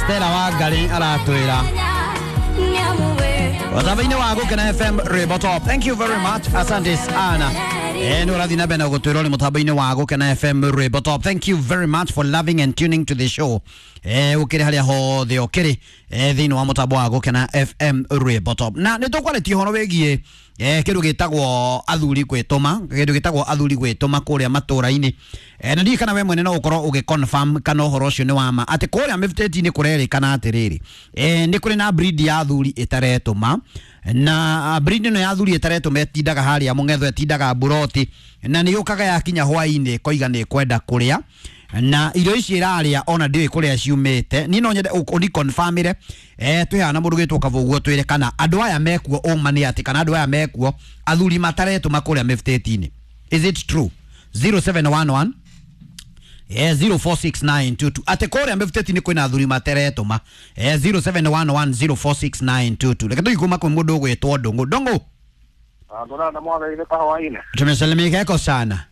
Stella Wangari aratwĩra mũtambo-inĩ wa Gũkena FM Rwĩmbo Top. Thank you very much, asante sana. Nĩ ũrathiĩ na mbere na gũtwĩra ũrĩ mũtambo-inĩ wa Gũkena FM Rwĩmbo Top. Thank you very much for loving and tuning to the show. Ũkĩrĩ harĩa hothe ũkĩrĩ thĩinĩ wa mũtambo wa Gũkena FM Rwĩmbo Top. Na nĩ tũkwarĩtie ũhoro wĩgiĩ kĩndũ gĩtagwo athuri gwĩtũma, kĩndũ gĩtagwo athuri gwĩtũma kũrĩa matũra-inĩ. Na ndiũĩ kana we mwene no ũkorwo ũgĩ confirm kana ũhoro ũcio nĩ wa ma atĩ kũrĩa mĩbutĩti-inĩ kũrerĩkana atĩrĩrĩ, nĩ kũrĩ na breed ya athuri ĩtaretũma, na breed ĩno ya athuri ĩtaretũma ĩtindaga harĩa mũng'etho, ĩtindaga mburoti, na nĩ yũkaga yakinya hwaĩ-inĩ ĩkoiga nĩ ĩkwenda kũrĩa, na irio ici ĩrarĩa ona ndiũĩ kũrĩa ciumĩte. Niĩ no nyende ũni confirmĩre, twĩ haha na mũndũ gwĩtwo Kavũguo, twĩre kana andũ aya mekuo ũma nĩ atĩ kana andũ aya mekuo athuri mataretũma kũrĩa mĩbutĩti-inĩ. Is it true? 0711 046922 atĩ kũrĩa mĩbutĩti-inĩ kwĩna athuri materetũma. 0711046922. Reke tũthiĩ kuma kwĩ mũndũ ũgwĩtwo Ndũng'ũ. Ndũng'ũ, Ndũrenda mwageire kahwainĩ. tumesalimika eko sana.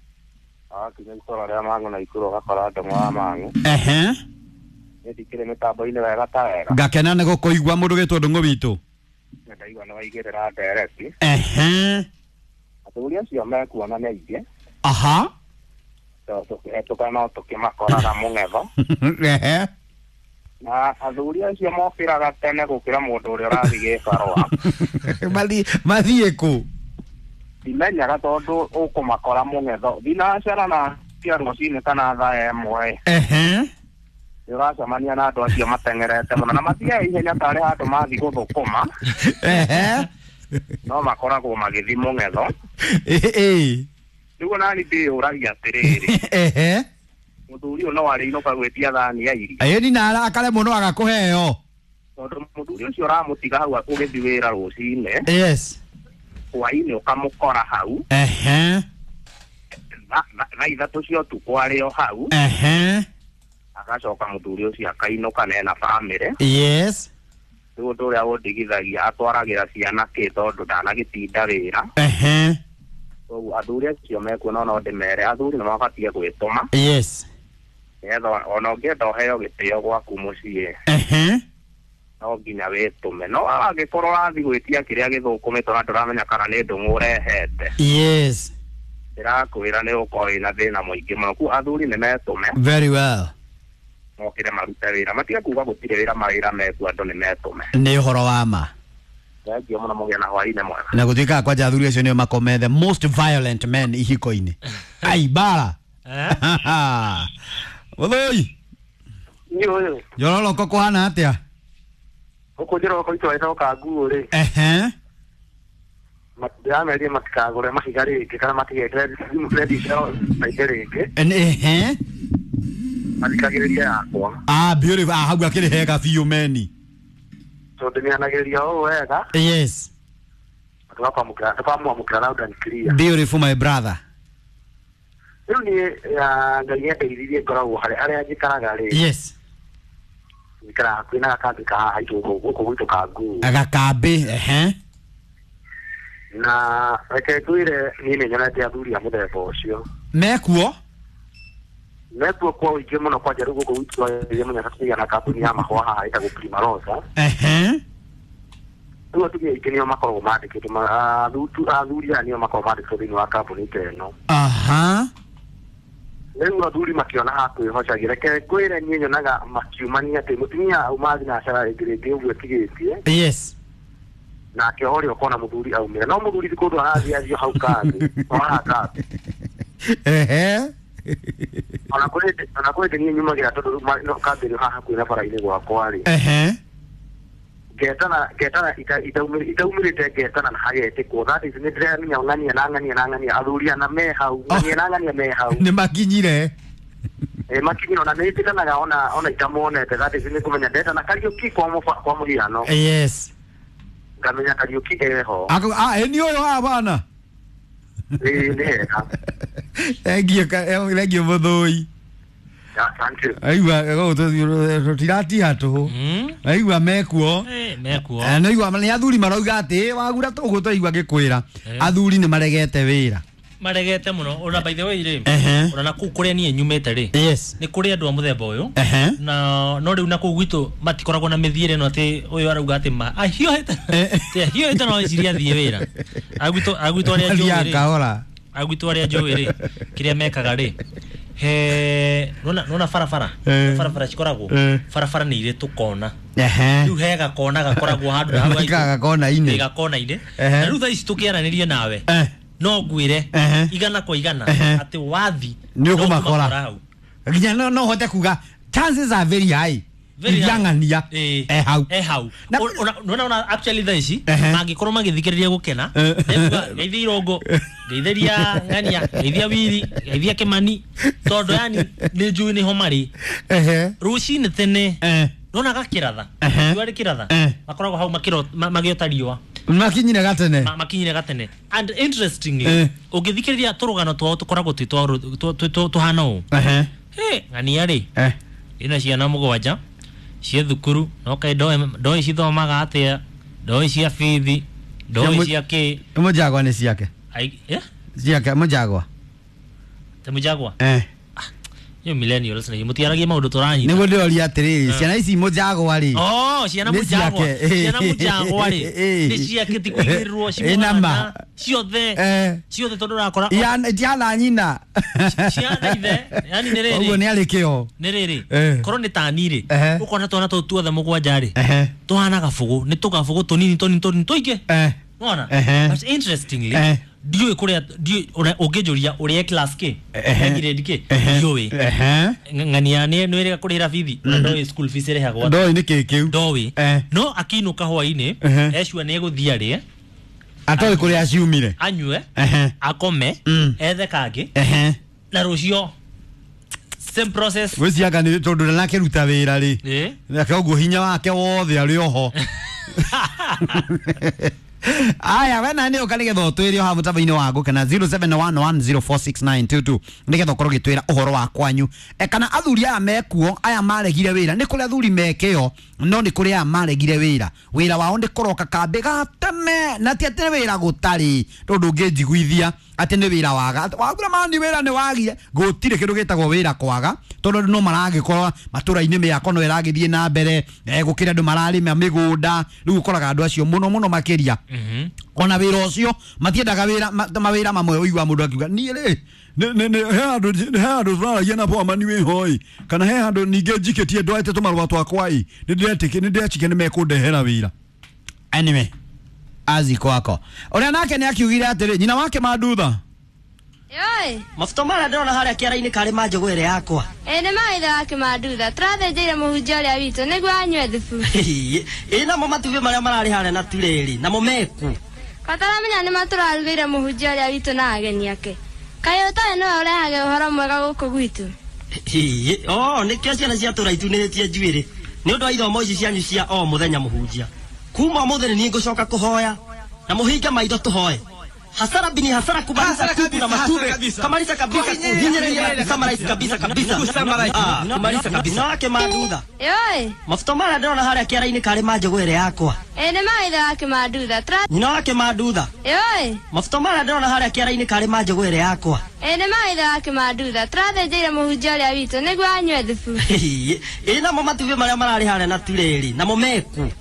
Akinya itũra rĩa Mang'u na Ikuru ũgakora Ndũng'ũ wa Mang'u. Ehe, Nĩ ndikĩrĩ mĩtambo-inĩ wega ta wega. ngakena nĩ gũkũigua mũndũ ũgwĩtwo Ndũng'ũ witũ. Nĩ ndaigua nĩ waigĩrĩra ndereti. Ehe, Athuri acio mekuona nĩ aingĩ. aha. Tondũ tũkĩhetũka no tũkĩmakoraga mũng'etho. Ehe. Na athuri acio mokĩraga tene gũkĩra mũndũ ũrĩa ũrathiĩ gĩbarũa. Mathiĩ kũ? Ndimenyaga tondũ ũkũmakora mũng'etho. Thinacara na cia rũcinĩ kana thaa ĩmwe. Ehe. Nĩ ũracemania na andũ acio mateng'erete mũno na mathiaga ihenya tarĩ handũ mathiĩ gũthũkũma. Ehe. No makoragwo magĩthiĩ mũng'etho. Ĩ. Nĩguo nani ndĩyũragia atĩrĩrĩ, Ehe. mũthuri ũyũ no arĩinũka gwĩtia thani ya irio, Ĩ ni na arakare mũno agakũheo. tondũ mũthuri ũcio ũramũtiga hau ũgĩthiĩ wĩra rũcinĩ, Yes. hwainĩ ũkamũkora hau, Ehe. thaa 3 cia ũtukũ arĩ o hau, Ehe. agacoka mũthuri ũcio akainũka na ena bamĩrĩ. Yes. Rĩu ũndũ ũrĩa ũndigithagia atwaragĩra ciana kĩ tondũ ndanagĩtinda wĩra. Ehe. Koguo athuri acio mekuo no ndĩmere athuri nĩ mabatiĩ gwĩtũma, Yes. nĩgetha ona ũngĩenda ũheo gĩtĩo gwaku mũciĩ, Ehe. no nginya wĩtũme. No angĩkorwo ũrathiĩ gwĩtia kĩrĩa gĩthũkũmĩtwo na ndũramenya kana nĩ ndũng'ũ ũrehete, Yes. ndĩrakwĩra nĩ ũkorwo wĩna thĩna mũingĩ mũno. Koguo athuri nĩ metũme, Very well. mokĩre marute wĩra, matige kuga gũtirĩ wĩra, mawĩra mekuo, andũ nĩ metũme. Nĩ ũhoro wa ma. Thengiũ mũno, mũgĩe na hwainĩ mwega. Na gũtuĩkaga kwanja athuri acio nĩo makome the most violent men ihiko-inĩ. Ai bara. Mũthũi. Niĩ ũyũ Njororoko kũhana atĩa? gũkũ njororoko itũra ĩtoka nguo rĩ, Ehe. ndĩramerie matikagũre mahiga rĩngĩ kana matigekĩre redio ciao maingĩ rĩngĩ, Ehe. mathikagĩrĩrie yakwa, Ah, beautiful. Ah, hau akĩrĩ hega biũ meni. tondũ nĩanagĩrĩria ũũ wega, Yes. tũkamwamũkĩra loud and clear. Beautiful my brother. Rĩu niĩ Ngai nĩandeithirie ngoragwo harĩa harĩa njikaraga rĩ, Yes. njikaraga hakuhĩ na gakambĩ ka haha itũ gũkũ gwitũ ka nguo. Gakambĩ. Ehe. Na reke ngwĩre niĩ nĩ nyonete athuri a mũthemba ũcio Mekuo? mekuo kwa ũingĩ mũno, kwanja rĩu gũkũ gwitũ Mũnyaka tũkĩgĩa na kambuni ya mahũa haha ĩtagwo Primarosa. Ehe. Rĩu atumia aingĩ nĩo makoragwo mandĩkĩtwo, athuri aya nĩo makoragwo mandĩkĩtwo thĩinĩ wa kambuni ta ĩno. Aha. Rĩu athuri makĩona ha kwĩhocagia, reke ngwĩre niĩ nyonaga makiumania atĩ mũtumia auma thinacara rĩngĩ rĩngĩ ũguo ĩtigĩtie, Yes. nake ũrĩa ũkona mũthuri aumĩra, no mũthuri ti kũndũ arathiĩ athiĩ hau kambĩ, o haha kambĩ. Ehe. Ona kũrĩ niĩ nyumagĩra tondũ rĩu no kambĩ ĩrĩ haha hakuhĩ na bara-inĩ gwakwa rĩ, Ehe. ngetana itaumĩrĩte, ngetana na hagetĩkwo. That is nĩ ndĩramenya ng'ania na ng'ania na ng'ania athuri ana me hau, ng'ania na ng'ania me hau. Nĩ makinyire. Makinyire ona nĩ ĩtĩkanaga ona itamonete. That is nĩ kũmenya ndetana Kariũki kwa mũhiano, Yes. ngamenya Kariũki eho. Ah, ĩ ni ũyũ haha bana. Ĩĩ nĩ hega. Thengiũ, thengiũ mũthũi. Asante. Aigua tũtiratiha tũhũ. Aigua mekuo. Mekuo. Nĩigua nĩ athuri marauga atĩ wagura tũgũ twaigua ngĩkwĩra athuri nĩ maregete wĩra. Maregete muno ona by the way ri ona na kuu kuria nie nyumite ri ni kuri andu a muthemba uyu na no riu na kuu gwitu matikoragwo na mithiire no ati uyu arauga ati ma ahiũhĩte ti ahiũhĩte no eciria athie wira agwitũ agwitũ aria njũĩ ri agwitũ aria njũĩ ri kiria mekaga ri he nona nona barabara barabara cikoragwo barabara ni iri tukona riu he gakona gakoragwo handu hau gakona-inĩ gakona-inĩ na riu thaa ici tukiaranirie nawe no ngwire igana kwa igana ati wathi ni ukumakora nginya no hote kuga chances are very high yang'ania eh hau nona ona actually thaa ici mangikorwo magithikiriria gukena ngeithia Irongo ngeithiria Ng'ania ngeithia Wiri ngeithia Kimani tondu yani ni njui niho mari rucini tene nona gakiratha riũa rĩkĩratha makoragwo hau magiota riũa makinyire gatene makinyire gatene and interestingly ũngĩthikĩrĩria tũrũgano twao tũkoragwo twĩ tũhana ũũ Ng'ania rĩ ina ciana mũgwanja cia thukuru no kaĩ ndoĩ cithomaga atĩa ndoĩ cia bithi ndoĩ cia kĩ Mũjagwa nĩ ciake ciake Mũjagwa te Mũjagwa yo millennials na mutiaragia maundu turanyita niguo ndiroria atiriri ciana ici Mũjagwa ri oh ciana Mũjagwa ciana Mũjagwa ri ni ciake ti kuigĩrĩrwo cimwana ciothe ciothe tondu urakora itiana nyina ciana ithe yani nĩ rĩrĩ ũguo nĩ arĩ kĩo nĩ rĩrĩ korwo nĩ tani rĩ ũkona twana tũu tuothe mũgwanja rĩ tũhana gabũgũ nĩ tũgabũgũ tũnini tũnini tũnini tũingĩ nona but interestingly ndiũĩ kũrĩa ndiũĩ ũngĩnjũria ũrĩa class kĩ grade kĩ ndiũĩ Ng'ania nĩ ĩrĩga kũrĩhĩra bithi na ndoĩ school fees ĩrĩhagwo ndoĩ nĩ kĩ kĩu ndoĩ no akĩinũka hwainĩ ecua nĩ egũthiĩ arĩe atoĩ kũrĩa ciumire anyue akome ethe kangĩ na rũcio same process gwĩcianga nĩ tondũ ndanakĩruta wĩra rĩ koguo hinya wake wothe arĩ oho aya wena nä å ka nä getha å twä re o haha må tambo-inä wa ngå kena 0711046922 nä getha å korwo gä twä ra å horo wa kwanyu kana athuri aya mekuo aya maregire wä ra nä kå rä athuri mekeo no nä kå rä aya maregire wä ra wä ra wao nä kå roka kambä gateme na ti atä nä wä ra gå tarä tondå ngä njiguithia atä nä wä ra waga wagura mani wä ra nä wagire gå tirä kä ndå gä tagwo wä ra kwaga tondå no maragä korwo matå-ra-inä mä ako no äragä thiä na mbere gå kä rä andå mararä ma mä gå nda rä u å koraga andå acio må no må no makä ria ona wä ra å cio matiendaga mawä ra mamwe å igua må ndå akiuga niä rä he handå tåraragia na bwamani wä hoi kana he handå ningä njikä tie ndwarä tå marũa twakwa ä nä ndĩretĩkia nä mekå ndehera wä ra anyway azi kwako å nake nä akiugire atä rä nyina wake mandutha Yoi. Mafuta mara ndĩrona harĩa kĩara-inĩ karĩ ma njũgũ ĩrĩa yakwa. Ĩ nĩ ma ithe wake Mandutha tũrathĩnjĩire mũhunjia ũrĩa witũ nĩguo anyue thubu. Ĩ namo matumbĩ marĩa mararĩ harĩa na turĩrĩ namo meku. Kataramenya nĩ matũrarugĩire mũhunjia ũrĩa witũ na ageni ake. Kaĩ ũtarĩ nĩwe ũrehage ũhoro mwega gũkũ gwitũ. Oh nĩkĩo ciana cia tũra itunĩhĩtie njuĩrĩ nĩ ũndũ wa ithomo ici cianyu cia o mũthenya mũhunjia. Kuma ũmũthĩ nĩ niĩ ngũcoka kũhoya na mũhinge maitho tũhoe. Hasara bini hasara kumaliza kuku na matube kamaliza kabisa kuhinyiriria na kusummarize kabisa kabisa kumaliza kabisa wake Mandutha. Yoi. Mafuta mara ndĩrona harĩa kĩara-inĩ karĩ ma njũgũ ĩrĩa yakwa. Ĩ nĩ ma ithe wake Mandutha nyina wake Mandutha. Yoi. Mafuta mara ndĩrona harĩa kĩara-inĩ karĩ ma njũgũ ĩrĩa yakwa. Ĩ nĩ ma ithe wake Mandutha tũrathĩnjĩire mũhunjia ũrĩa witũ nĩguo anyue thubu. Ĩ namo matumbĩ marĩa mararĩ harĩa na turĩrĩ namo meku.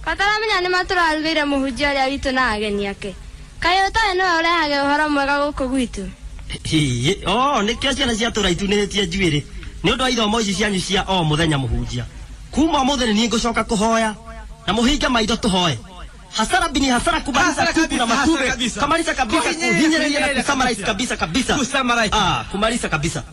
Kataramenya nĩ matũrarugĩire mũhunjia ũrĩa witũ na ageni ake. Kaĩ ũtarĩ nĩwe ũrehage ũhoro mwega gũkũ gwitũ. Oh nĩkĩo ciana cia tũra itunĩhĩtie njuĩrĩ nĩ ũndũ wa ithomo ici cianyu cia o mũthenya mũhunjia. Kuma ũmũthĩ nĩ niĩ ngũcoka kũhoya na mũhinge maitho tũhoe. Hasara bini hasara kumaliza kuku na matube kamaliza kabisa kuhinyiriria na kusummarize kabisa kabisa kumaliza kabisa.